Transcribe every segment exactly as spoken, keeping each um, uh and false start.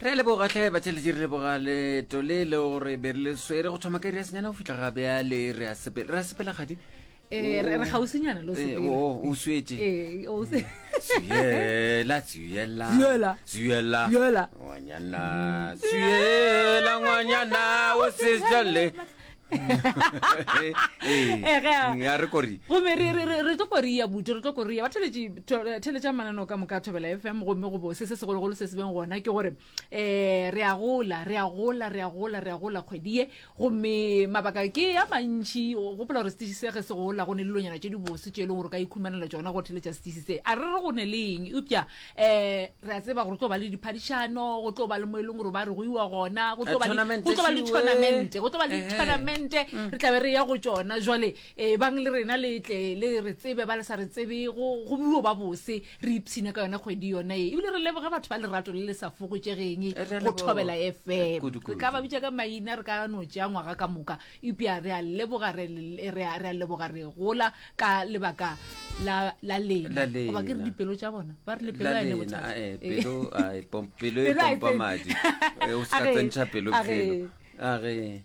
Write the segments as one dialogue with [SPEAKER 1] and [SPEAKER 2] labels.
[SPEAKER 1] Re a leboga hle batheletši, re leboga leeto le le gore be re le swere go thoma ka iri ya senyane go fihla ga bjale. Re a sepela, re a sepela gadi.
[SPEAKER 2] Eh, re re kgauswinyana le o
[SPEAKER 1] Eh,
[SPEAKER 2] sepela.
[SPEAKER 1] o o swetše.
[SPEAKER 2] Eh, o se-
[SPEAKER 1] Swiela, swiela.
[SPEAKER 2] Swiela.
[SPEAKER 1] Swiela.
[SPEAKER 2] Swiela.
[SPEAKER 1] Ngwanyana, swiela ngwanyana o se jale.
[SPEAKER 2] Eh, ge a-
[SPEAKER 1] Ya re kori.
[SPEAKER 2] Gomme re re re re tlo koria buti, re tlo koria ba theletše theletša mananeo ka moka a Thobela F M. Gomme go bo se se segologolo se se beng gona ke gore um re a gola, re a gola, re a gola, re a gola kgwedi ye. Gomme mabaka ke a mantšhi. O gopola gore setiši se ge se gola go ne le dilonyana tše dibose tše e leng gore o ka ikhumanela tšona go theletša setiši se. A re re go ne le eng, eupša um re a tseba gore tlo ba le diphadišano, go tlo ba le mo e leng gore ba re go iwa gona, go tlo ba le
[SPEAKER 1] Tournament
[SPEAKER 2] go tlo ba le
[SPEAKER 1] šiwe.
[SPEAKER 2] tournament, go tlo ba le
[SPEAKER 1] Ehe.
[SPEAKER 2] tournament, re tla be re ya go tšona. Jwale um bang le rena le tle le re tsebe, ba le sa re tsebe, go go buo ba bose, re ipshine ka yona kgwedi yona ye. Ebile re leboge batho ba lerato le le sa fokotšegeng
[SPEAKER 1] Re a
[SPEAKER 2] go
[SPEAKER 1] leboga.
[SPEAKER 2] Thobela F M.
[SPEAKER 1] Kudu,
[SPEAKER 2] Re ka ba
[SPEAKER 1] kudu.
[SPEAKER 2] bitša ka maina, re ka no tšea ngwaga ka moka, eupša re a leboga, re re a re a leboga. Re gola ka lebaka la la lena.
[SPEAKER 1] La
[SPEAKER 2] Goba ke re
[SPEAKER 1] lena.
[SPEAKER 2] dipelo tša bona, ba re le pelo
[SPEAKER 1] La
[SPEAKER 2] a ene
[SPEAKER 1] lena,
[SPEAKER 2] bothata.
[SPEAKER 1] eh,
[SPEAKER 2] Eh.
[SPEAKER 1] pelo, ai, pom- pelo e
[SPEAKER 2] Pelo a e
[SPEAKER 1] pompa
[SPEAKER 2] tsene.
[SPEAKER 1] madi. Eh, o se ka
[SPEAKER 2] A ge,
[SPEAKER 1] tsentšha pelo
[SPEAKER 2] a ge.
[SPEAKER 1] felo. A ge.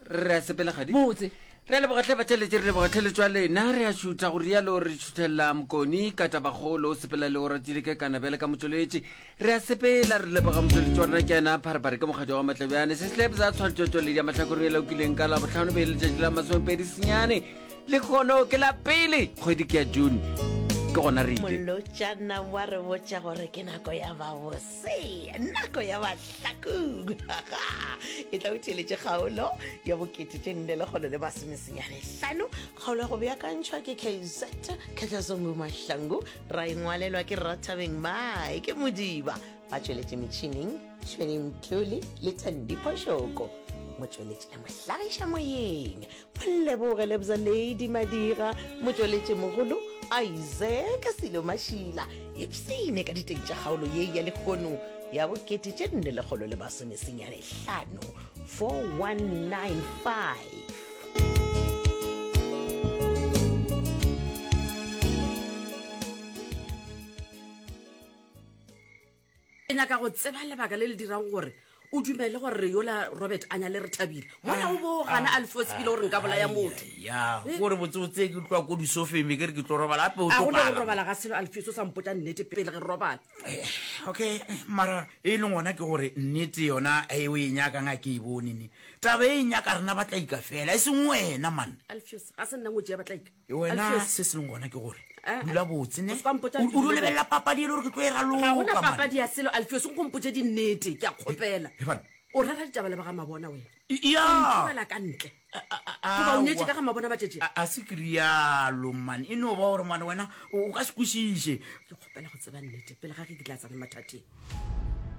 [SPEAKER 1] Re a sepela gadi.
[SPEAKER 2] Botse.
[SPEAKER 1] Re a leboga hle batheletši, re leboga tlheletšo ya lena. Re a šutha go rialo, re šuthelela Mokoni ka tabakgolo, o sepela le o ratile ke kana bjale ka motšweletši. Re a sepela, re leboga motšweletši wa rena ke yena Pharephare ke mokgatšo wa Matlebjane. Se slepe sa tshwantšhotšweledi ya mahlakoreng e laokileng ka Labohlano be e le letšatši la masomepedi senyane. Lekgono ke la pele kgwedi ke ya June. Ke gona re ile.
[SPEAKER 3] Molotšana wa re botša gore ke nako ya babose, nako ya bahlakong. E tla o theeletše kgaolo ya bokete tše nne lekgolo le masomesenyane hlano. Kgaolo ya go beakantšhwa ke K Z Khatlazongo Mahlangu, ra engwalelwa ke Rathabeng Mae ke Modiba, ba tšweletše metšhineng Tšhweneng Mtlole le Thandi Phošoko, motšweletši le mohlagiša moyeng Moleboge Lebza Lady Madira, motšweletši mogolo Isaac Selo Mašila. Ipsene ka diteng tša kgaolo ye ya lehono ya bokete tše nne lekgolo le masomesenyane hlano, four one nine five.
[SPEAKER 4] Ke nyaka go tseba lebaka le le dirang gore o dumele gore re yola Robert a nyale re thabile mola o bo gana Alfos bile gore nka bolaya motho.
[SPEAKER 5] Ya gore botsebotse ke tloa ko disofeng, ke re ke tlo robala gape o
[SPEAKER 4] A
[SPEAKER 5] tlo
[SPEAKER 4] gona go
[SPEAKER 5] pala.
[SPEAKER 4] Robala ga selo, Alfos, o sa mpotsa nnete pele ge re robala.
[SPEAKER 5] Okay, mara e leng gona ke gore nnete yona e o e nyakang a ke e bone ne taba e nyaka rena batlaika fela, e seng wena man.
[SPEAKER 4] Alfos, ga se nna ngwetši ya batlaika.
[SPEAKER 5] Wena
[SPEAKER 4] Alpheus.
[SPEAKER 5] se se leng gona ke gore
[SPEAKER 4] Eh, eh.
[SPEAKER 5] dula botse ne
[SPEAKER 4] O se ka mpotša
[SPEAKER 5] o o
[SPEAKER 4] dilo.
[SPEAKER 5] dio lebelela papadi e le gore ke tlo e
[SPEAKER 4] Ga gona
[SPEAKER 5] raloka man.
[SPEAKER 4] papadi ya selo, Alfos, o nkompotse dinnete, ke a kgopela.
[SPEAKER 5] Eh, bana.
[SPEAKER 4] O rera ditaba le ba ga Mabona wena?
[SPEAKER 5] Ya.
[SPEAKER 4] Tlogela ka ntle goba o nyetse ka ga Mabona ba tšetše?
[SPEAKER 5] A a se ke rialo man, e no ba gore man wena o o ka se kwešiše.
[SPEAKER 4] Ke kgopela go tseba nnete pele ga ge ke tla tsena mathateng.